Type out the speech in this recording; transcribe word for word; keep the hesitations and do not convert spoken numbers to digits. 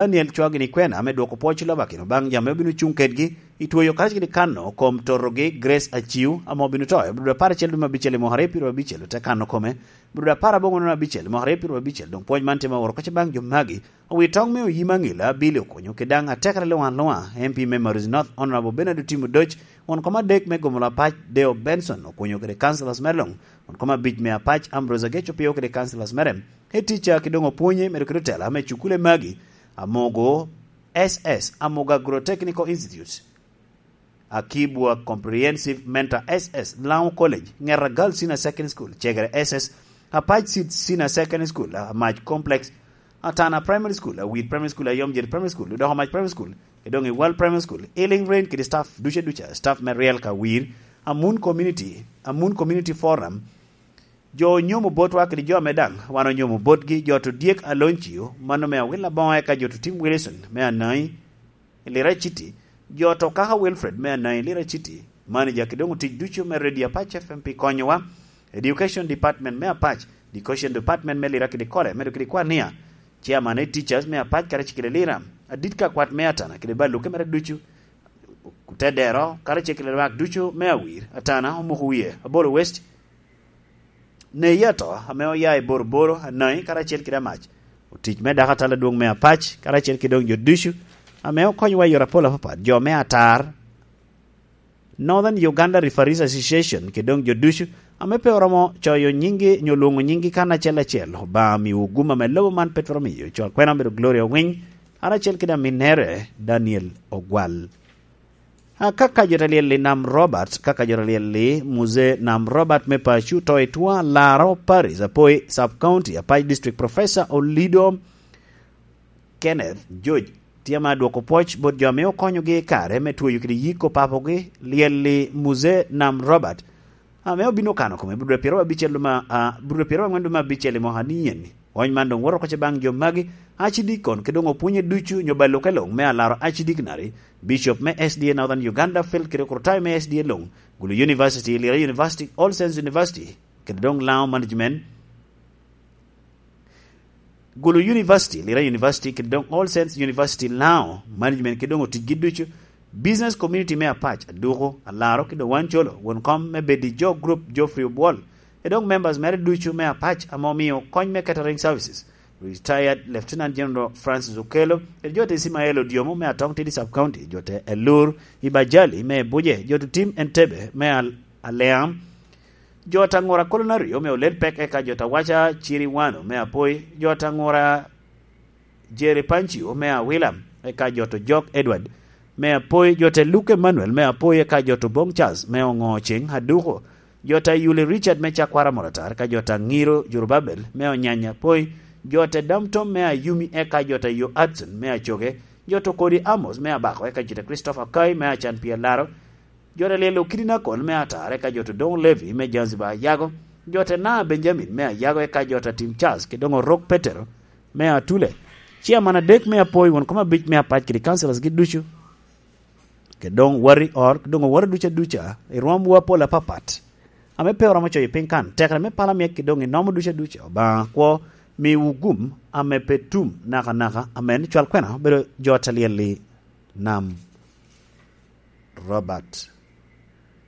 Daniel Cwagini Kwena me dwoko pwoc lobakino baŋ jami obino cuŋ kedgi i tweyo karacel kede kano kom torogi Grace Aciu ame obino to i brud apar acel dwe me abicel i mwaka aryo pyeraryo abicel, ote kano kome brud apar aboŋo dwe me abicel i mwaka aryo pyeraryo abicel. Doŋ pwoc man tye ma oro kacce baŋ jo magi, owi toŋ me oyim aŋila Billy Okonyo kede daŋ atekere luŋ aluŋa, M P me Maruzi North Honorable Bernard Otim Odoc, won kom adek me Gomolo Apac Deo Benson Okonyo kede councillors mere luŋ, won kom abic me Apac Ambrose Agec Opio kede councillors mere. Head teacher ki doŋ opwonye medo kede otela me cukule magi, Amogo S S, Amogo Agro-Technical Institute, Akibwa Comprehensive Mentor S S, Lango College, Ngeta Girls Senior Secondary School, Cegere S S, Apac Seed Senior Secondary School, Amac Complex, Atana Primary School, Awir Primary School, Ayomjir Primary School, Doko Mac Primary School, Edong Iwal Primary School, Healing Rain kede staff duca duca, staff me Riel ka Wir, Amun Community, Amun Community Forum, jo onyomo botwa kede jo ame daŋ wan onyomo botgi, jo to dyek Aloncio, mano me Awil Aboŋo, eka jo to Tim Wilson me Anai, Lira City, jo to Kaka Wilfred me Anai, Lira City, manager kede doŋ otic ducu me Radio Apac F M pi konyowa, Education Department me Apac, Education Department me Lira kede Kole, medo kede Kwania, Chairman e Teachers me Apac karacel kede Lira, adit ka kwat me Atana kede Baluke mere ducu, Kutedero karacel kede lwak ducu me Awir, Atana, Omuko Wie, Abolo West, Neyeto ame oya i Boroboro, Anai karacel kede Amac, otic me dako atal adwoŋ me Apac karacel kede doŋ jo ducu ame okonyowa i yore apol apapat, jo me Atar, Northern Uganda Referees Association kede doŋ jo ducu ame pe oromo coyo nyingi nyo lwoŋo nyingi kan acel acel. Obaŋa miwu gum ame lobo man pe twero miyo. Cwal kwena obedo Gloria Owiny, karacel kede aminnere Daniel Ogwal. Akaka jo te lyel i Nam Robert, kaka jo te lyel i Muzee Nam Robert me paco to i Twa Laro Parish, Apoi Sub County, Apac District, Professor Olido Kenneth George tye ma dwoko pwoc bot jo ame okonyogi i kare me tweyo kede yiko papogi, lyel i Muzee Nam Robert, ame obino kano kome brud pyeraryo abicel ma, a, brud pyeraryo aŋwen dwe me abicel i mwaka ni eni. Wony man doŋ woto oko ce baŋ jo magi, acidikon, kede doŋ opwonye ducu nyo baluke luŋ me alaro acidikinari, Bishop me S D A Northern Uganda, Phil kede Kurtai me S D A luŋ, Gulu University, Lira University, All Saints University, kede doŋ Lango Management, Gulu University, Lira University, kede doŋ All Saints University Lango Management, kede doŋ oticgi ducu, Business Community me Apac, Aduku, Alaro, kede doŋ Wancolo, won kom me Bedi Jo Group, Geoffrey Obwol, kede doŋ members mere ducu me Apac ame omio kony me catering services, Retired Lieutenant General Francis Okello, kede jo te Ismael Odiomo me Atong Tidi Sub County, jo te Elur Ibajali me Ebuje, jo te Tim Entebbe me Al-, Aleam, jo ta Ŋura Kolonari ome Oled Pek, eka jo ta Waca Ciri Wano me Apoi, jo ta Ŋura Jerry Pancio me Awila, eka jo ta Jok Edward me Apoi, jo ta Luke Emmanuel me Apoi, eka jo ta Bong Charles me Oŋo Ceŋ Aduko, jo ta Yuli Richard me Cakwara Moratar, eka jo ta Ŋiro Jorubabel me Onyanya Apoi, jo ta Damtom me Ayumi, eka jo ta Yo Adson me Acoge, jo ta Kodi Amos me Abako, eka jo ta Christopher Kai me Acan Pia Laro, jo ta Lyelo Kidinakol me Atar, eka jo ta Doŋ Levi me Zanzibar Ayago, jo ta Na Benjamin me Ayago, eka jo ta Tim Charles kede doŋ Orok Petero me Atule. Ciaman adek me Apoi, won kom abic me Apac kede councillors gi ducu, kede doŋ wari or, kede doŋ oworo duca duca, i rwomwu apol apapat, ame pe oromo coyo piny kan, tekere me pala myek kede doŋ i nomo duca duca, Obaŋa kwo miwu gum ame pe tum nakanaka. Amen. Cwal kwena obedo jo ta lyel i Nam Robert.